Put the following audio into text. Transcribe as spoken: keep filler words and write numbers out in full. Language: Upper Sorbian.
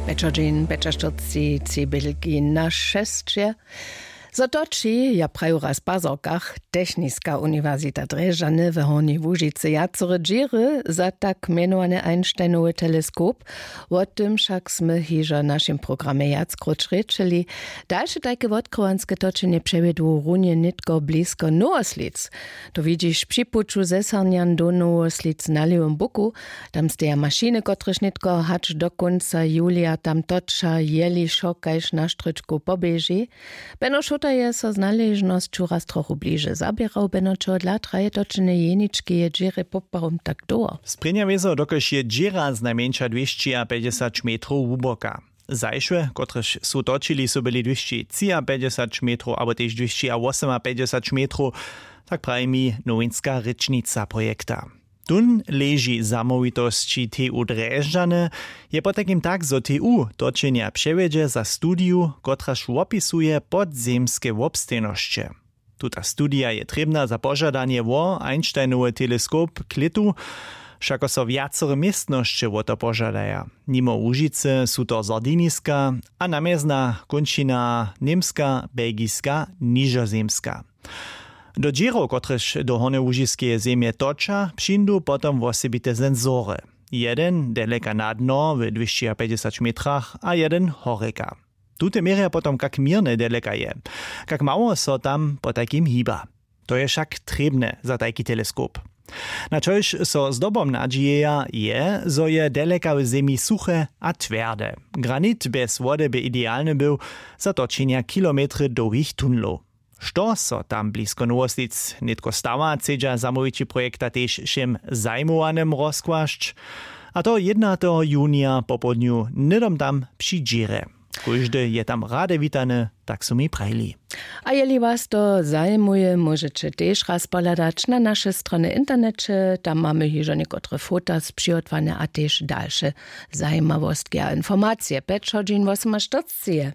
Pečodźin pečaštyrci cibelki na šesće. Zo toči, ja praju raz w pazorkach, techniska uniwersita drježdźany w hornjej łužicy wjacore dźěry za tak mjenowane einsteinowy teleskop. Wo tym wšak smy hižo w našim programje wjackrot rěčeli. Dalše tajke wotkrywanske točenje přewjedu runje nětko blisko nowoslic. To widźiš při puću zesarnjan do nowoslic na lěwym buku. Tam steja mašiny, kotrež nětko hač do kónca julija tam toča, jeli wšo kaž na štrěčku poběži. Beno šuta je so z naležnosću raz trochu bliže zaběrał, beno čehodla traje točenje jeničkeje dźěrje poprawom tak dołho? Sprěnja wězo, dokelž je dźěra znajmjeńša dwěsći a pjećdźesać metrow hłuboka. Zašłe, kotrež su točili, su byli dwěsći třiapjećdźesać metrow abo tež dwěsći a wosomapjećdźesać metrow, tak praji mi nowinska rěčnica projekta. Tón leži zamołwitosći T U Drježdźany. Je potajkim tak, zo T U točenja přewjedźe za studiju, kotraž wopisuje podzemske wobstejnosće. Tuta studija je trěbna za požadanje wo Einsteinowy teleskop k lětu. Wšako so wjacore městnosće wo to požadaja. Nimo Łužicy su to Sardiniska a namjezna kónčina Němska, Belgiska, Nižozemska. Do dźěrow, kotrež do Hornjołužiskeje zemje toča, přińdu potom wosebite sensory. Jeden daleka na dno w dwěsći a pjećdźesać metrach a jeden horjeka. Tute měrja potom, kak měrne daleka je, kak mało so tam potajkim hiba. To je wšak trěbne za tajki teleskop. Na čož so zdobom nadźijeja, je, zo je daleka w zemi suche a twjerde. Granit bjez wody by idealny był za točenja kilometry dołhich tunlow. Što so tam blisko nowoslic nětko stawa, chcedźa zamołwići projekta tež wšěm zajimowanym rozkłasć. A to jědnateho junija popołdnju hnydom tam při dźěrje. Kóždy je tam rady witany, tak su mi prajili. A jeli was to zajimuje, móžeće tež raz pohladać na naše strony w interneće. Tam mamy hižo někotre fota spřihotowanje a tež dalše zajimawostki a informacije. Pjećdźesać wosomastyrceje.